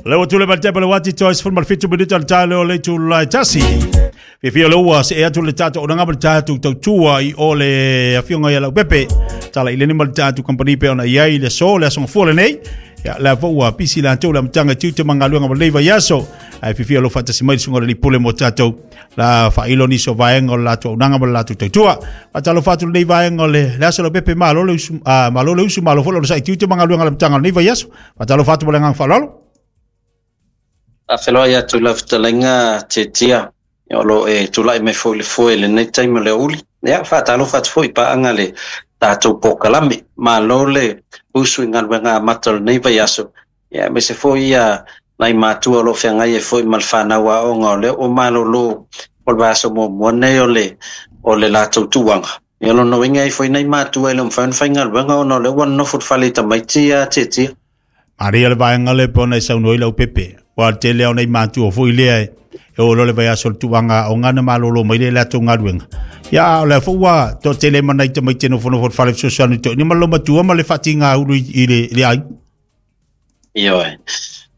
Le ua tule mai le tepa le uati toi 17 minuta le tae leo le itula e tasi. Fiafia le ua see atu le tatou auaunaga ma le tatou tautua i o le afioga ia Leaupepe. Tala i leni ma le tatou company pe ona i ai le aso, le aso gafua lenei. Ia, lea foi ua pisi latou le amataga i tiute ma galuega ma lenei vaiaso. Ae fiafia lo faatasi mai le susuga i le alii pule mo tatou la faailo nisi o vaega o le latou auaunaga ma le latou tautua. Faatalofa atu lenei vaega o le, le aso Leaupepe, malo le usu, malo le usu, malo foi le onosai i tiute ma galuega a le amataga o lenei vaiaso. Faatalofa atu ma le agaga faaaloalo. Faafeiloai atu i lau fetalaiga Tietia, o lo o e tulai mai foi i le foe i lenei taimi o le aoauli. Ia, faatalofa atu foi i paaga le tatou polokalame. Malo le usu i galuega amata o lenei vaiaso, ia, aemaise foi ia nai matua o lo o feagai ai foi ma le fanau aoga o lea ua malolo o le vaiaso muamua nei o le, o le latou tuaga. Ia, o lona uiga e i ai foi nai matua e le o mafai ona faigaluega ona o lea ua nonofo i le fale i tamaiti ia Tietia. Maria le vaega lea e pei ona e saunoa ai Leaupepe. Ua le tele lava o nai matua foi lea e oo loa le vaiaso o le tulaga aoga ona malolo mai lea i le latou galuega. Ia, a o lea foi ua toatele ma nai tamaiti e nofonofo i le fale fesoasoani toeaina ma le matua ma le faatiga ulu i le aiga. Ioe.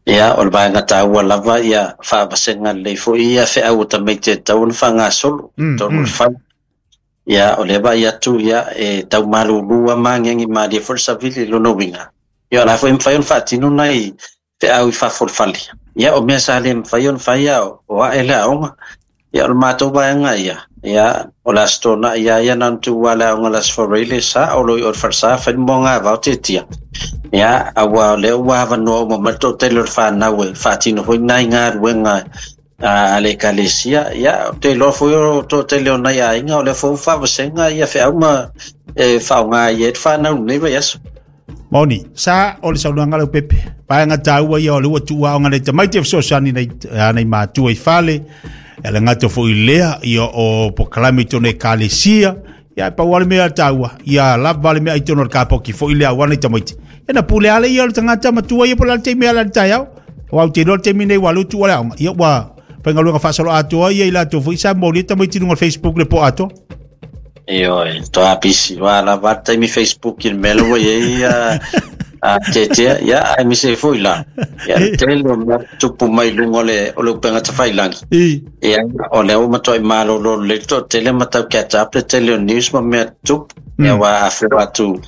Ia, o le vaega taua lava ia faavasega lelei foi ia feau o tamaiti e tatau ona faagasolo i totonu o le fale. Ia, o lea vaai atu, ia, e tau malulu lava ma agiagi malie foi le savili i lona uiga. Ia, o la foi e mafai ona faatino nai feau i fafo o le fale. Ia, o mea sa le mafai ona fai a o ae le aoga. Ia, o le matou vaega ia, ia, o le Aso Toonai lava ia na ona tuu lava le aoga i le Aso Faraile, sa o lo o i o i le falesa fai le moagavao Tietia. Ia, aua o lea ua avanoa uma mai le toatele o le fanau e faatino foi nai galuega a le ekalesia. Ia, ou te iloa foi o toatele o nai aiga o lea foi ua faavasega ia feau ma e faaaoga ai le fanau i lenei vaiaso. Moni, sa o le saunoaga Leaupepe. Vaega taua ia o le ua tuu aoga nei tamaiti e fesoasoani nei, nei matua i fale. E le gata foi i lea, ia o polokalame i totonu o ekalesia. Ia e pau lava le mea taua, ia lava le mea i totonu o le kapoki foi lea aua nei tamaiti. Ia na pule lava ia o le tagata matua ia po o le a le taimi e ala i le taeao. Aua ou te iloa le taimi nei ua alu tuu le aoga. Ia ua faigaluega faasoloatoa ia i latou foi sa molia tamaiti i luga o le Facebook le po atoa. Ioe, toa pisi, ua lava le taimi Facebook i le mea lea ua i ai a, a Tietia, ia, aemaise ai foi la, ia, le tele o mea tupu mai i luga o le, o le upega tafailagi. I. Ia, o lea ua matuai malolo lelei le toatele ma tau catch up le tele o news ma mea tutupu. Ia, ua afua atu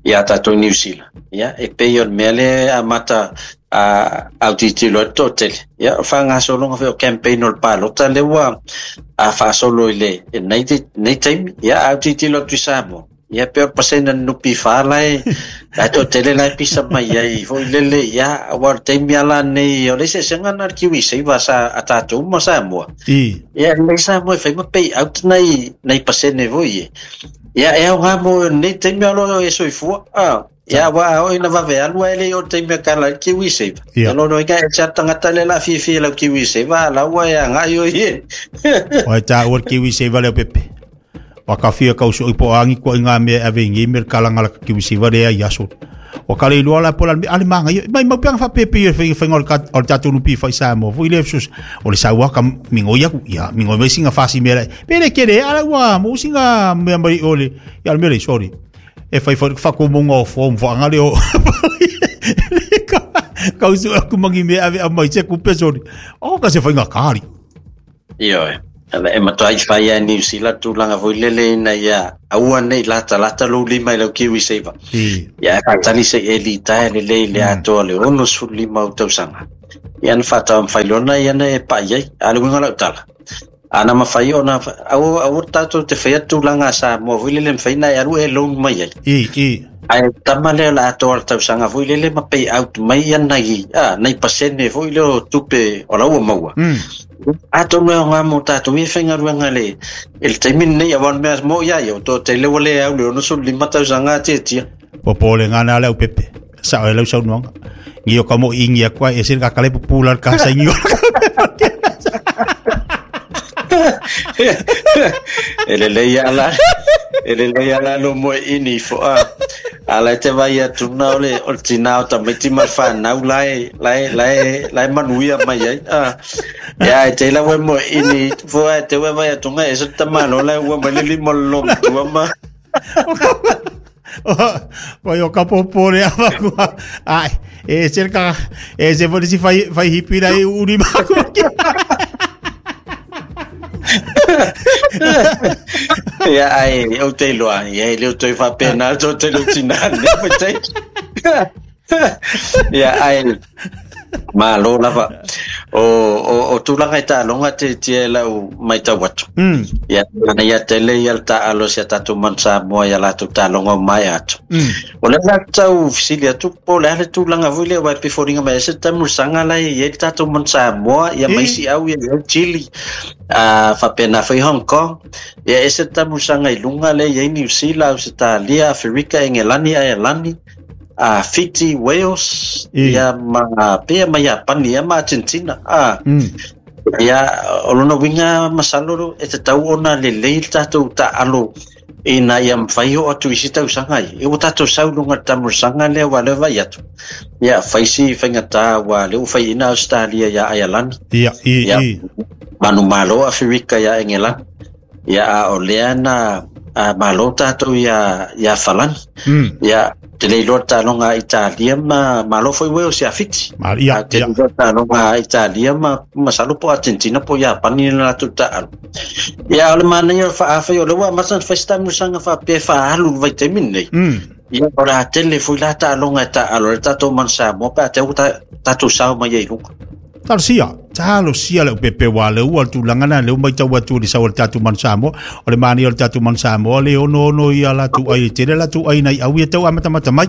ia tatou i Niu Sila. Ia, e pei o le mea lea e amata a autilotilo ai le toatele. Ia, o le faagasologa foi o campaign o le palota lea ua a faasolo i le nei, nei taimi. Ia, a autilotilo atu i Samoa, ia pei o le pasene o le NPF la e, la e toatele la e pisa mai ai foi lele, ia, aua o le taimi lava la nei, o le eseesega lena o le KiwiSaver sa, a tatou ma Samoa. I. Ia, e lelei Samoa e fai ma pay out nai, nai pasene foi e. Ia, e aoga mo lenei taimi a o lo o e soifua. Ah, ia, aua a oo ina vave alu ae le i oo i le taimi e kala ai le KiwiSaver. Ia. Ia lona uiga e ese lava le tagata lea o le a fiafia i lau KiwiSaver, a o la ua e agai oe i e. Ua e taua le KiwiSaver Leaupepe. Ua ka fia kau soi po angi kua i ngā mea e ave i ngei me le kalanga la KiwiSaver lea i aso. Ua kala i loa la po la ale ale manga ia mai mau peanga whapepe ia whainga whainga o le kat- o le tatou nupi whai Samoa foi le sus o le saua ka mingo ia ku ia mingo mai singa fasi mea pele kere ala ua mo singa mea mai o le ia le mea le sorry e whai whai whakomonga o form whaanga le o kau su aku mangi mea ave a mai se kupe sorry o ka se whainga kari. Ioe. E matua i whai a New Zealand tulaga foi lele ina ia aua nei latalata lou lima i lau KiwiSaver. Ia e faatali se i e litaea lelei i le atoa o le 65 ou tausaga. Ia na faataumafai loa na ia na e pai ai. A o le uiga o lau tala, ana mafai ona aua aua tatou te faia tulaga a Samoa foi lele e mafai ona e alu e loan mai ai. I, i. Ae tama lea o le atoa o le tausaga foi lele ma pay out mai ia nai, a, nai pasene foi lea o tupe o la ua maua. Atonu e aoga mo tatou ia faigaluega le, i le taimi lenei, aua o le mea mo ia ia, o toatele ua le au le 65 tausaga a tiatia. Popolega na le au pepe. Sao e lau saunoaga. Ngio ka mo ingi aku ai ese ka kale pupula ka sa ngio. E lelei ala, e lelei ala lo moe ini fo a. Ala e te vai atu na o le, o le tina o tamaiti ma le whanau la e, la e, la e, la e manuia mai ai. A, ia e te lawe moe ini fo a e te vai atu ngai e se tamalo la e ua mai le lima o le lomatua ma. Vai o ka popo le ava kua. Ai, e se ka e se fo si fai fai hipi lai uri ma ku. Ia ai o te loa, ia le o toi faapena to te lo tina ne pa. Ia ai malo lava. O tulaga e taaloga te tia lau maitau atu. Ia ana ia tele ia le taalo sia tatou manu Samoa ia latou taaloga o mai atu. O le la tau fesili atu po o le a le tulaga foi lea uae pe foliga mai ai se tamusaga la e i ai le tatou manu Samoa ia maisi au ia i ai Chile faapena foi Hong Kong ia ese le tamusaga i luga lea i ai Niu Sila, Ausetalia, Aferika, Engelani, Aialani, Fiti, Wales, ia ma pea ma Iapani ia ma Argentina. Ia o lona uiga masalo e tatau ona lelei le tatou taalo ina ia mafai oo atu i isi tausaga ai. E ua tatou sau i luga o le tamusaga lea ua lea vaai atu. Ia fai si faigata ua lea ua faiaina Australia ia Aialani. Ia, i, Ia i. manumalo Aferika ia Engelani. Ia a o lea na malo tatou ia Falani. Ia te le iloa le taaloga a Italia ma malo foi Wales ia Fiti. Ma, ia, Te ia. le iloa le taaloga a Italia ma masalo po Argentina po Iapani na latou taalo. Ia o le manaia o le faaafai o lea ua amata ona fai se tamusaga faapea e faaalu le vaitaimi lenei. Ia o le a tele foi la taaloga e taalo ai le tatou manu Samoa pe a te ua tatou sao mai ai i luga. Talosia, talosia le upepe wa le ua le tulaga na le mai tau atu i le sau o le tatou manu Samoa. O le manaia o le tatou manu Samoa le ono ono ia latou ai e tele latou ai nai au ia tau amatamata mai.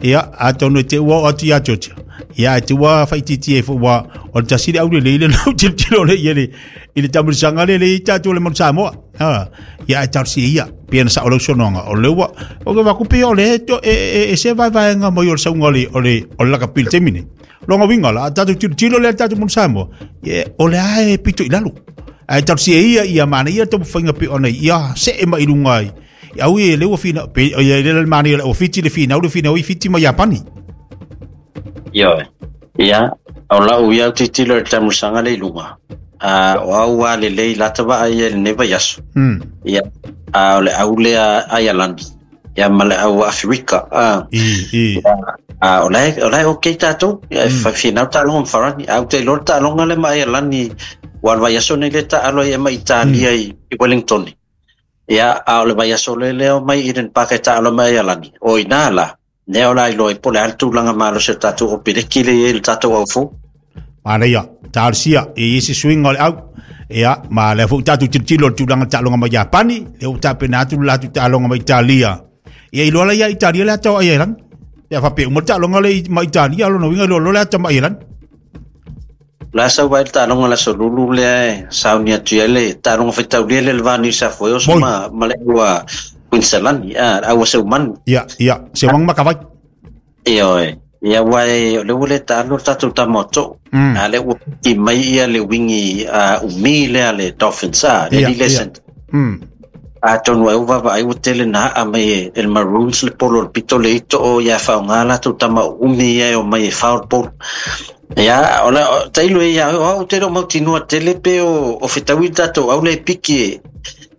Ia, atonu e te ua o atu ia Georgia. Ia, e te ua whaititi e ua o le tasi le au le leile lau tilotilo le ia le i le tamulisaga le le i tatou le manu Samoa. Ha, ia e talosia ia. Pia na sa o lau sonoanga. O le ua, o ke wakupi o le to, e se vaevaega mai o le sauga o le, o le, o le lakapi i le taimi nei. Longa winga la, tatou tilotilo le tatou manu Samoa. Ia, o le ae pito i lalo. Ae talosia ia ia mana ia taumafaiga pe ona ia see mai i luga ai. Au ia le ua fina, pe, ia le le mana ia le ua Fiti le finau, le finau i Fiti ma Iapani. Ioe. Ia, o lau ia au tilotilo i le tamusaga le i luga. O au a lelei lata vaai ia i lenei vaiaso. Ia, o le au lea Aialani. Ia ma le au Aferika. I, i. Ia, o la e okay tatou. Ia, e finau taaloga ma Farani. Au te iloa le taaloga le ma Aialani ua le vaiaso nei le taalo ai e ma Italia i Wellington. Ia, a o le vaiaso le leo mai Eden Park e taalo mai Aialani. O ina la, nea o la iloa i po le a le tulaga malosi o tatou o peleki le i le tatou au fou. Manaia, talosia, e i se suiga o le au. Ia, ma lea foi tatou tilotilo le tulaga taaloga mai Iapani, lea ua tapena atu le latou taaloga mai Italia. Ia iloa la ia Italia le ata o Aialani. Ia faapea uma le taaloga le mai Italia, lona uiga iloa loa le ata mai Aialani. La sau vai le taaloga le aso lulu lea e sauni atu i ai le taaloga faitaulia lea le va New South Wales Moi. ma le au Queensland, au Seumanu. Ia, ia, Seumanu makavai. Ioe. Ia ua e, o le ua le taalo le tatou tama o too. A le ua piki mai ia le wingi umi lea le Dolphins, le Ia, Lile ia. Center. Atonu ai ua vaavaai ua tele na aa mai e le Maroons le polo o le pito le ito o ia whaonga latou tama o umi ia e o mai e whao le polo. Ia, o la, o, tailo e ia, o au te reo mautinua tele pe o whitaui tatou au le piki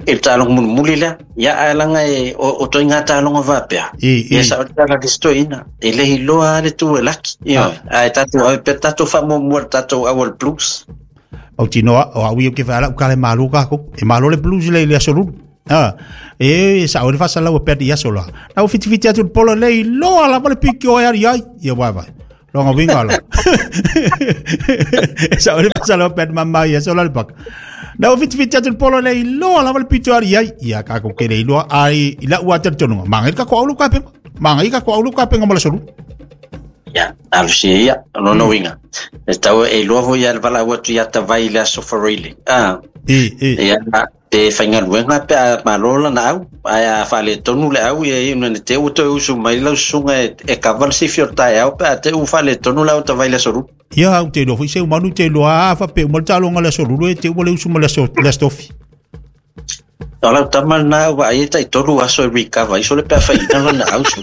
e le taaloga mulimuli lea. Ia, ae langa e, o toi ngā taaloga vāpea. I, i. Ia, sa o le tala listoina. E lehi loa le tu e laki. Ia, ae tatou au pe tatou whamuamua le tatou au o le Blues. Mautinoa, o au ia ke whaala ukale malo kako. E malo le Blues le le aso lulu. E sa o le whasa lau pea di aso la. Na o fiti fiti atu le polo le loa la le piki o e ari ai. Ia wai wai. Longa winga la. E sa o le whasa lau pea di mama i aso la le paka. Na o fiti fiti atu le polo le loa la le piki o ari ai. Ia kako ke le iloa ai i la ua tere tonunga. Manga i kako aulu ka penga. Manga i kako aulu ka penga mo le aso lulu. Ia, alusia ia, lona uiga. E tau e iloa foi ia le valaau atu ia tavai le aso Faroile. I, i. Ia, pe faigaluega pe a malo lana au, ae a faaletonu le au, ia ia, na te ua toe usu mai lau susuga e kava le sifi o le taeao, pe a te ua faaletonu le au tavai le aso lulu. Ia, au te iloa foi se umanu te iloa a faapea uma le taaloga le aso lulu e te ua le usu ma le aso, le aso tofi. O lau tama lena ua ai e taitolu aso e recover, iso le pe a whaina lana au su.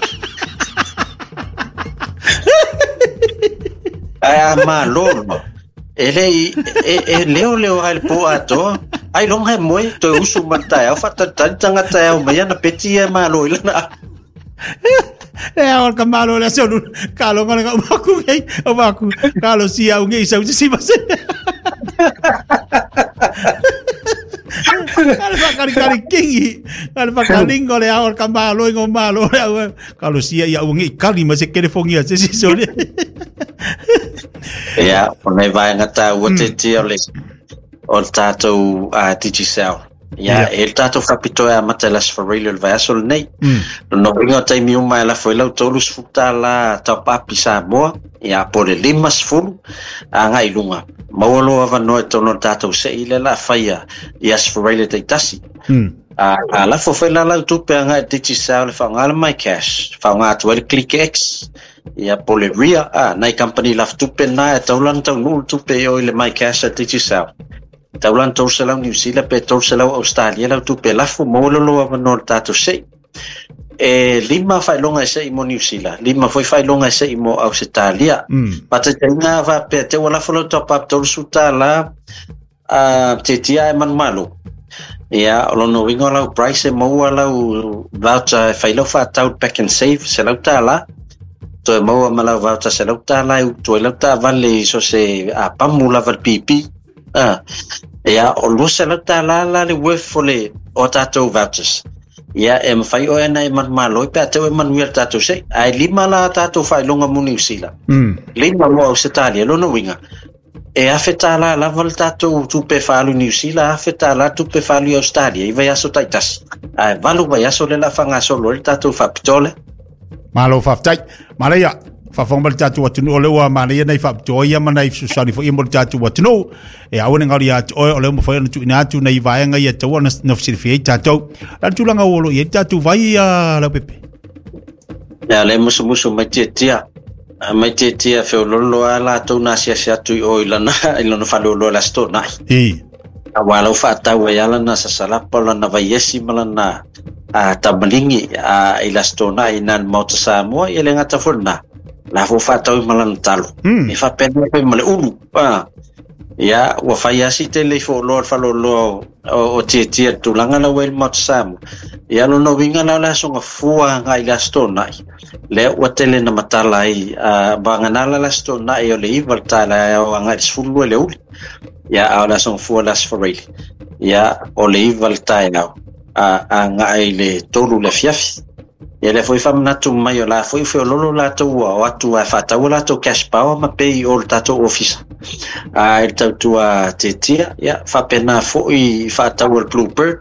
Ai a malo no. E le i, e leo leo ai le po atoa. Ai longa e moe, toe usu ma le taeao, whatatari tangata e au mai ana peti e malo i lana au. E ao ka malo le aso ka lo ngona ka maku ngai o maku ka lo sia ngai sau si ma se. Ka le whakari kari kingi ka le whakaringo le ao ka malo ingo malo le au ka lo sia ia ngai kali ma se telefongia se si so le. Ia, o nei vaega tāua te tia o le o le tātou Digicel. Ia, e le tātou whapitoa a mata las wharili o le vaiaso lenei. No inga o taimi uma e lafo i lau $30 tau papi Samoa, ia po le 50 a ngai lunga. Maua loa avanoa e tonu o le tātou se i le la whaia i as wharili taitasi. A lafo whai la lau tupe a ngai Digicel le whaongā le My Cash, whaongā atu ai le Click X, ia po le Ria, nai company laf tupe nā e taulan tau nuu tupe i o i le My Cash a Digicel. Taulan 300 New Zealand pe 300 Australia lau tupe lafo maua loa avanoa le tātou sei. E 5 whailonga e sei mo New Zealand, 5 foi whailonga e sei mo Australia. Pataitainga whapea te ua lafo lau top up $30 te tia e manumalo. Ia, o lono winga lau price e maua lau voucher e whailau whaatau pack and save se lau tāla. Toe maua ma lau voucher se lau tāla e utu e lau tāvale so se a pamu lava le PP. Ia, o lua se lau tāla la le worth o le o tātou vouchers. Ia, e mawhai o ena e manumalo i pea teo e manuia le tātou sei. Ai 5 la tātou whailonga mo New Zealand. 5 mo Australia, lono winga. E afe tāla lava le tātou tupe whaalu New Zealand, afe tāla tupe whaalu i Australia, i vai aso taitasi. Ai 8 vai aso le la whangasolo le tātou whapitole. Malo whaftai. Maleia, whawhanga le tātou atunu o leua maleia nei whapitoa ia mana i susani fo ia mo le tātou atunu. E awane ngari atu oe o leo mwhai ona tuina atu nei vaenga ia taua na whasiriwhi ei tātou. La tūlanga olo ia tātou vai a lau pepe. Ia le musumusu mai tia. Mai tia whiololo a lātou nā siasi atu i o i lana whalolo la sto nai. A wā lau whaatau e ala nā sasalapa lana vaiesi ma lana tamalingi i la sto nai nā mauta Samoa i le ngata fona. La fo whaatau i malana talo. E whapena pe male ulu. Ia, ua whai asi te le whololo whalolo o tia tia tūlanga la wele mauta Samoa. Ia lono winga la la songa fua ngai la sto nai. Le ua tele na matala ai banganala la sto nai o le iwa le tala o ngai sfulu le uli. Ia a la songa fua las foreli. Ia o le iwa le tae au a ngai le tolu le fiafi. Ia le foi whamanatu mai o la foi lolo lātou o atu a whātau lātou cash power ma pei o le tātou ofisa. A e tautua te tia, ia whapena foi whātau o le Bluebird.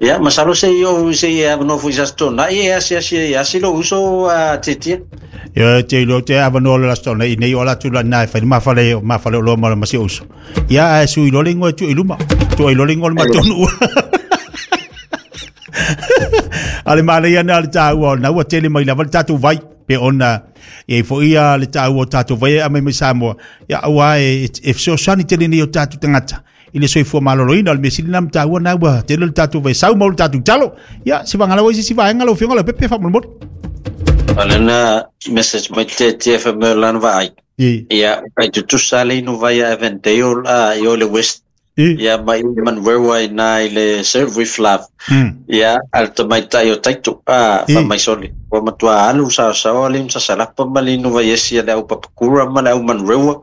Ia, masalo se i o se i avanoa foi sa na i asi asi asi lo uso a te tia. Ia te lo te avanoa le lasto nei nei o la tu la nai whai mawhale o loa mala masi uso. Ia a sui lole ngoe tu iluma. Tu i lole ngoe matonu. Ale male ia na le tāua na ua tele mai lava le tātou vai pe ona e fo ia le tāua o tātou vai a mai mai Samoa. Ia aua e fesoasoani tele nei o tātou tangata. I le soifua maloloina o le mesili na mtāua na ua tele le tātou vai sau mau le tātou talo. Ia se wangala wai se si vaenga lau fionga lau pepe whamolomoli. Alena message mai te TFM lana vaai. Ia kai tutusa le inu vai a Avondale i o le West. Ia mai man wewa i nā i le Serve with Love. Ia alta mai tai o taito whamai soli. Wa matua alu sa sawa le msa salapa ma le inu vai esi le au papakura ma le au manrewa.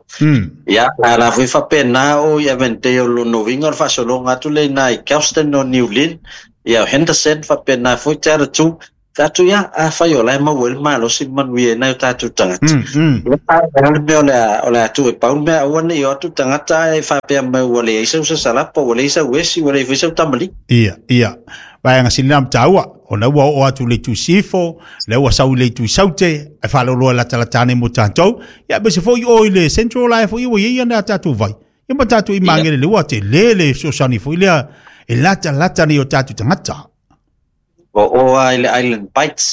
Ia ala fui whape nā o i Avondale lo novinga o whasolonga atu le nā i Kelston o New Lynn. Ia Henderson whape nā fui te ara tū. Tātou ia, a whai o lai mau ele malo si manuia nai o tātou tangata. Ia le mea o le atu e paul mea aua nei o atu tangata e whapea mai ua le eisa usa salapa, ua le eisa uesi, ua le eisa utamali. Ia, ia. Vaenga sinina mtaua, o na ua o atu le tu sifo, le ua sau le tu saute, e whaloloa la talatane mo tātou. Ia, bese fo i o i le Central Life, i ua ia nā tātou vai. Ia ma tātou i mangere le ua te lele sosani fo i lea, e lata lata ni o tātou tangata. O o i le Island Bites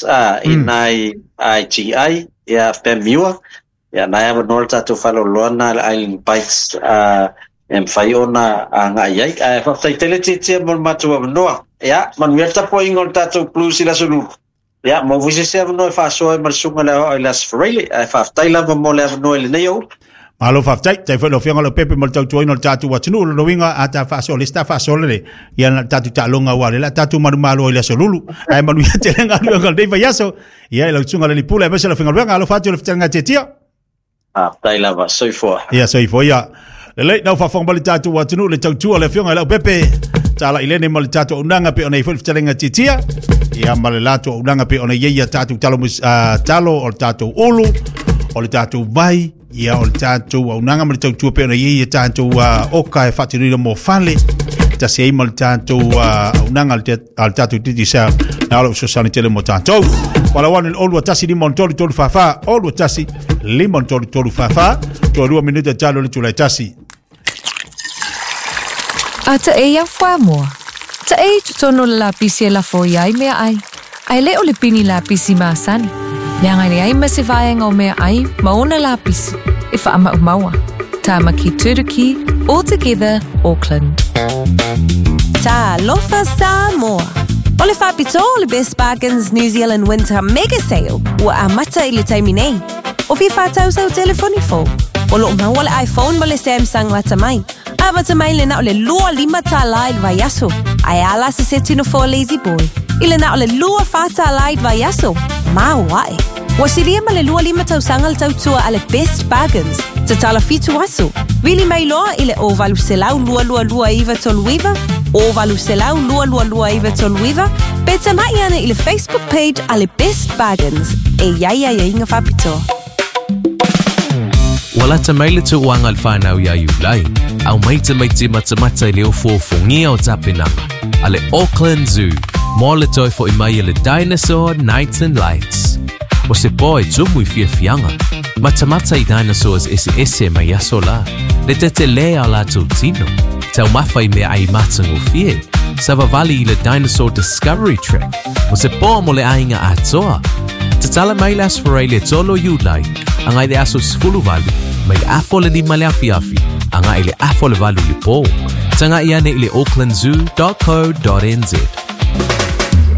i nai IGI ia Pemiua ia nai avanoa le tātou faaloloa na le Island Bites e mafai ona agai ai ae faafetaitele tietia mo le matou avanoa ia manuia le tapuaiga o le tātou Blues i le aso lulu ia mo foi se ese avanoa e faasoa ai ma le susuga le aoao i le Aso Faraile ae faafetai lava mo le avanoa i lenei aoauli. Malo faafetai, tai foi lau Afioga Leaupepe mo le tautuaina o le tatou atunuu. O lona uiga a ta faasoa le isi ta faasoa lele, ia na o le tatou taaloga aua o lea o le a tatou manumalo ai i le aso Lulu. Ae manuia tele galuega o lenei vaiaso. Ia i lau susuga i le alii pule aemaise lau faigaluega. Alofa atu i le fetalaiga Tiatia. Faafetai lava, soifua. Ia soifua ia. Lelei, na faafofoga mai le tatou atunuu le tautua le Afioga i Leaupepe. Tala i lene ma le tatou auaunaga pe ona i foi le fetalaiga Tiatia. Ia ma le latou auaunaga pe ona i ai ia tatou talo, talo o le tatou ulu, o le tatou vai, ia o le tatou auaunaga ma le tautua pe ona i ai ia tatou oka e faatinoina mo fale. Tasi ai ma le tatou auaunaga a le tatou Digicel na o lou fesoasoani tele mo tatou. Wala 1 2 1 5 3 3 4 4 2 1 5 3 3 4 4 toe 2 minute talo le tulai tasi. A ta e ia whamoa. Ta e i totonu o le lapisi e lafo i ai mea ai. Ae le o le pini lapisi masani. Leaga e leai ma se vaega o mea ai ma ona lapisi e faamaumaua. Tāmaki Turuki, All Together, Auckland. Talofa Samoa! O le faapitoa o le Best Bargains New Zealand Winter Mega Sale ua amata i le taimi nei. O fia whātau sau telefoni fou. O loo maua le iPhone ma le Samsung lata mai. Amata mai le na o le lua lima tālā i le vaiaso. Ae a la se seti nofoa lazy boy. I le na o le lua whā tālā i le vaiaso. Mau ae. Ua silia ma le 25 tausaga le tautua a le Best Bargains. Tatala 7 aso. Vili mai loa i le 0800 222 939, 0800 222 939, pe tamai ane i le Facebook page a le Best Bargains. E iai aiaiga faapitoa. Ua lata mai le tauaga a le whānau ia Iulai, au mai tamaiti matamata i le ofuofugia o tapenaga a le Auckland Zoo mo le toe fo'i mai a le Dinosaur Nights and Lights. O se pō e tumu i fiafiaga, matamata i dinosaurs eseese mai aso la, le tetelē a o latou tino, taumafa i meaai matagofie, savavali i le Dinosaur Discovery Track, o se pō mo le aiga atoa. Tatala mai le Aso Faraile e 3 o Iulai, agai le aso 18, mai le afa o le 5 le afiafi, agai le afa o le 8 le pō. Taga'i ane i le aucklandzoo.co.nz.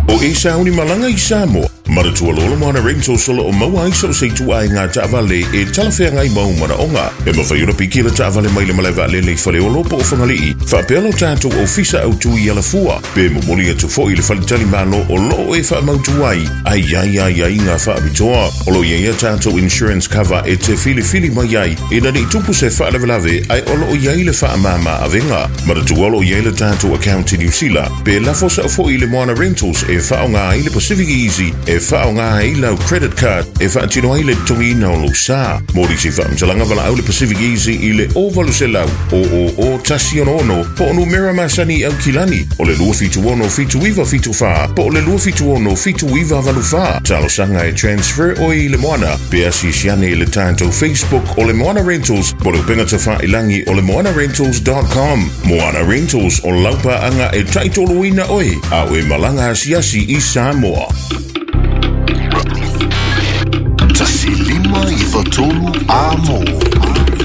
O e sauni malaga i Samoa, manatua loa le Moana Rentals o lo o maua ai so o se ituaiga taavale e talafeagai ma ou manaoga. E mafai ona piki le taavale mai le malae vaalele i Faleolo po o Fagalii, faapea lo tatou ofisa autu i Alafua, pe momoli atu foi i le faletalimalo o lo o e faamautu ai, a i ai aiaiga faapitoa. O lo o i ai a tatou insurance cover e te filifili mai ai ina ne i tupu se faalavelave ae o lo o i ai le faamama avega. Manatua o lo o i ai le tatou account i Niu Sila, pe lafo sao foi i le Moana Rentals e faaaoga ai le Pacific Easy e faaaoga ai lau credit card e faatino ai le totogiina o lou sa. Mo nisi faamatalaga valaau le Pacific Easy i le 0800 000 166 po o numera masani i Aukilani o le 276 7974 po o le 276 7984. Talosaga e transfer oe i le Moana pe asiasi ane i le tatou Facebook o le Moana Rentals po o le upega tafailagi o le moanarentals.com. Moana Rentals o lau paaga e taitoluina oe a o e malaga asiasi i Samoa. 1593 a mō.